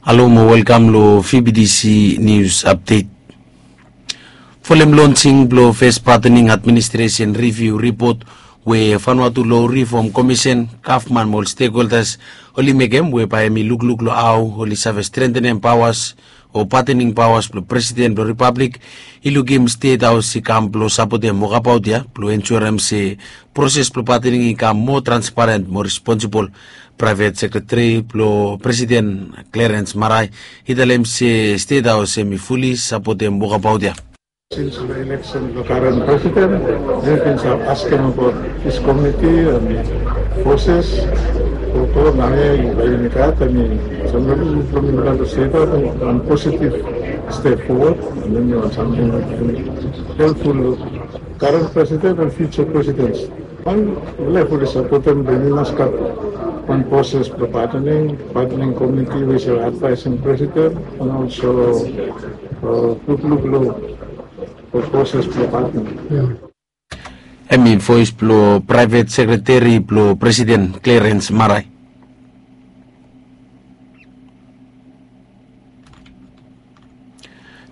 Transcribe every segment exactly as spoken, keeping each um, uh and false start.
Halo mo welkam lo V B T C News Update. Folem lonsing blo fes patening administresen riviu ripot we Vanuatu lo Rifom Komisen, gavman mo ol stekholdas oli mekem, we bae hemi lukluk lo hao oli save strentenem paoas o patening paoas blo presiden blo ripablik, i lukim Stet Haos i kam blo sapotem wokabaot ya blo ensurem se proses blo patening i kam moa transparen mo responsibol. Praevet sekreteri blo presiden, Clarence Marai, i talem se Stet Haos hemi fuli sapotem wokabaot ya. Since the election, the current president, we've been asking about this committee and the forces. Koto nangga i bai i gat, I mean, somebody from the United States, one positive step forward, and then you want something helpful, current president and future presidents. Wan lef oli sapotem, bae i mas gat wan proses blo patening, patening komiti we i save advaesem presiden, and also lukluk lo proses blo patening. Hemi voes blo praevet sekreteri blo presiden, Clarence Marai.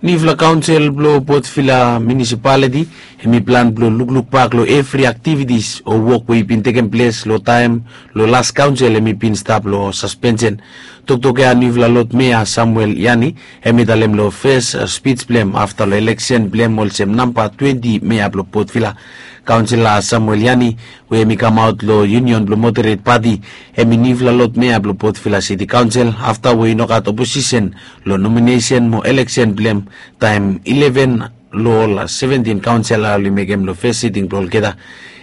Niufala kaonsel blo Port Vila Munisipaliti hemi plan blo lukluk bak lo evri aktivitis o wok we i bin tekem ples lo taem lo las kaonsel hemi bin stap lo saspensen. Toktok ya niufala Lod Mea Samuel Yani hemi talem lo fes spij blo hem afta lo eleksen blo hem olsem namba twenti mea blo Port Vila. Kaonsela Samuel Yani, we hemi kamaot lo Union blo Moderet Pati, hemi niufala Lod Mea blo Port Vila Siti Kaonsel afta we i no gat oposisen lo nominesen mo eleksen blo hem taem ileven lo ol seventin kaonsela oli mekem lo fes siting blo olgeta.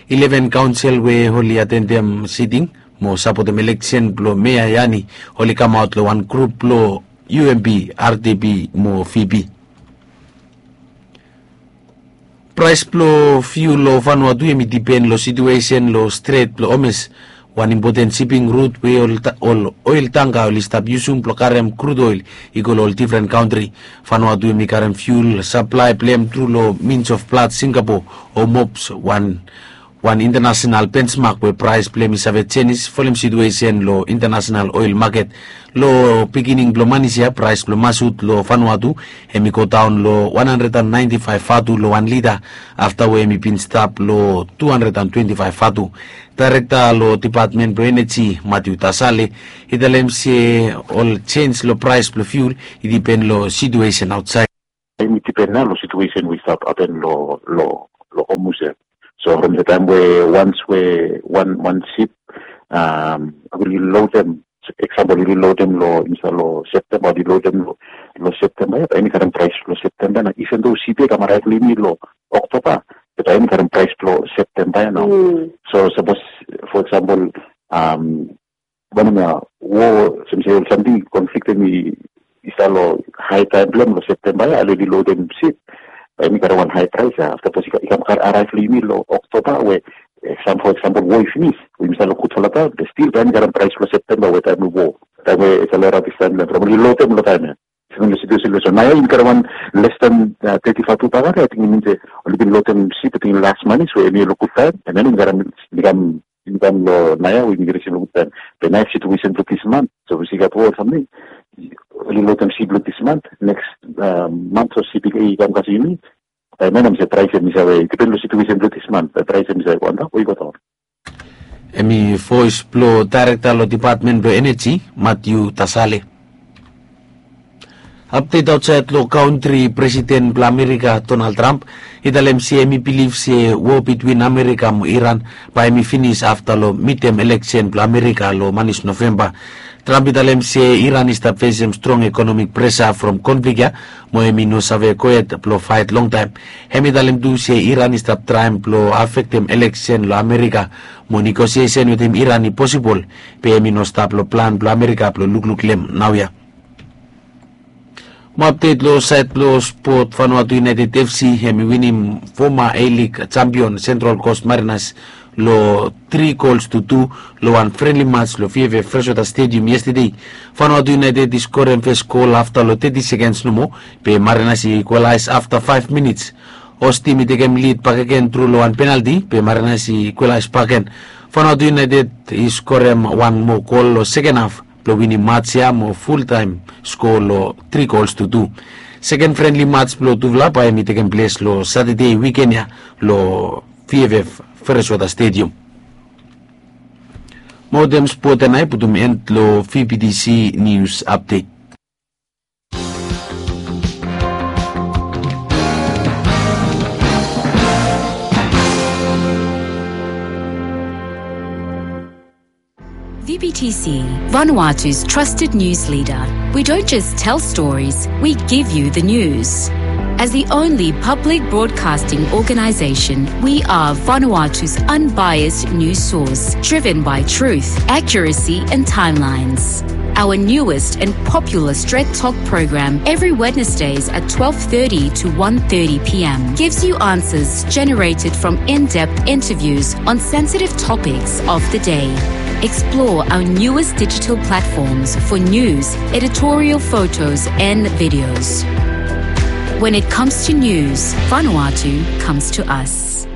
Ileven kaonsel we oli atendem siting mo sapotem eleksen blo Mea Yani oli kamaot lo wan grup blo U M P, R D P mo V P. Praes blo fiul lo Vanuatu hemi dipen lo situesen lo Stret blo Hormuz, wan impoten siping rut we ol oel tangka oli stap yusum blo karem krud oel i go lo ol difren kantri. Vanuatu hemi karem fiul saplae blo hem tru lo Mines of Blood Singapore o MOPS, wan wan intanasenal bensmak we praes blo hem i save jenis folem situesen lo intanasenal oel maket. Lo bigining blo manis ya praes blo masut lo Vanuatu hemi godaon lo wan handred an naenti faef vatu lo wan lita, afta we hemi bin stap lo tu handred an twenti faef vatu. Daerekta lo Depatmen blo Eneji, Matthew Tasale, i talem se ol jens lo praes blo fiul i dipen lo situesen aotsaed. Hemi dipen nao lo situesen we i stap hapen lo lo lo Hormuz ya. So from the taem we once we wan wan sip oli lodem, eksampol oli lodem lo insaed lo Septemba, oli lodem lo lo Septemba ya, bae hemi karem praes lo Septemba ya nao. Even though sip ya i kam araev lo yumi lo Oktoba, be bae hemi karem praes lo Septemba ya nao. So sapos, for example, wanem ya, wo, olsem se ol samting, konflik hemi i stap lo hae taem blo hem lo Septemba ya, oli lodem sip, bae hemi karem wan hae praes ya. Afta sapos i kam araev lo yumi lo Oktoba we, for example, wo i finis we yumi stap lo gudfala taem, be stil bae hemi karem praes lo Septemba we taem we wo, taem we i stap lo rabis taem blo hem, from oli lodem lo taem ya. Even lo situesen lo, so naoia yumi karem wan les dan teti vatu bakere, ating i min se oli bin lodem sip, ating las manis we hemi lo gud taem, and then yumi karem, yumi kam yumi kam lo naoia we yumi risib lo gud taem. Be naoia situesen blo dis mant, sapos i gat wo o samting, oli lodem sip lo dis mant, neks mant sapos sip i kam kasem yumi, bae hemia hemi se praes hemi save, i dipen lo situesen blo dis mant, bae praes hemi save go antap o i go daon. Hemi voes blo daerekta lo Depatmen blo Eneji, Matthew Tasale. Apdet aotsaed lo kantri, Presiden blo Amerika, Donald Trump, i talem se hemi bilif se wo bitwin Amerika mo Iran bae hemi finis afta lo midtem eleksen blo Amerika lo manis Novemba. Trump i talem se Iran i stap fesem strong ekonomik presa from konflik ya, mo hemi no save gohed blo faet longtaem. Hemi talem tu se Iran i stap traem blo afektem eleksen lo Amerika, mo negosiesen wetem Iran i posibol, be hemi no stap lo plan blo Amerika blo lukluk lo hem naoia. Mo apdet lo saed blo spot, Vanuatu United F C hemi winim foma A-League jampion Central Coast Mariners lo tri gols tu tu lo wan frenli mats lo V F F Freshwater Stadium yestede. Vanuatu United i skorem fes gol afta lo teti sekens nomo, be Mariners i ikualaes afta faef minits. Ostim i tekem lid bakegen tru lo wan penalti, be Mariners i ikualaes bakegen. Vanuatu United i skorem wan moa gol lo seken haf, blong winim mats ya mo fultaem skoa long tri gols tu tu. Seken frenli mats blong tufala bae hemi tekem ples long Satade wiken ya long VFF Freshwater Stadium. Mo wetem spot ya nao i putum en long VBTC News Update. VBTC, Vanuatu's trusted news leader. We don't just tell stories, we give you the news. As the only public broadcasting organization, we are Vanuatu's unbiased news source, driven by truth, accuracy, and timelines. Our newest and popular Stret Talk program every Wednesdays at twelve thirty to one thirty p.m. gives you answers generated from in-depth interviews on sensitive topics of the day. Explore our newest digital platforms for news, editorial photos, and videos. When it comes to news, Vanuatu comes to us.